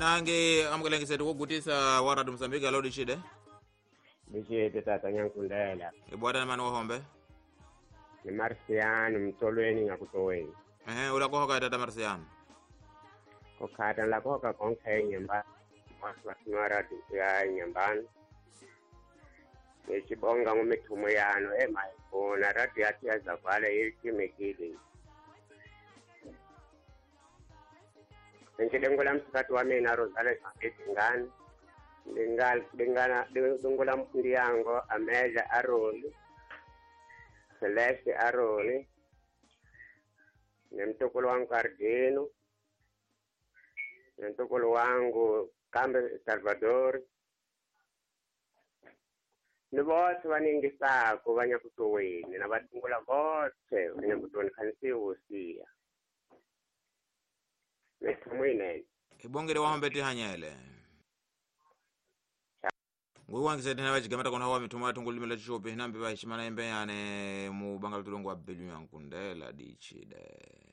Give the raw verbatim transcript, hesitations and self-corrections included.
Hinange amukelengiseti kugutisa wa Radio Mozambique alo dicide. Dicide tata nyankundela. Ibwata mani wahombe. Ni Marciano mtolweni ngakutoweni. Ehe ulakohoka tata Marciano. Kokhata lakohoka konke nyamba. Maswara ya nyambani. Nechibonga ngomithumo yano emayikhona radio yathi yazavala yechimekile. Ngilengola msikati wa mina Rosales Ngani Lingal lingana lungola Ndiango Amelia Aroli Celeste Aroli nemtukulu wangu Cardino nemtukulu wangu Kambe Salvador ni vothe vaningisako va nyakutoweni na vadungula vothe va nyakutoweni khanisiwusiya mithumo yinene. Ibongere wahombe tihanyele. Nguwangiseti na vachigamata kona wa mithumo ya thungulimi la chichopi hinambi vahishimana imbe yane mu banga lutulongo wa belu yankundela dichide.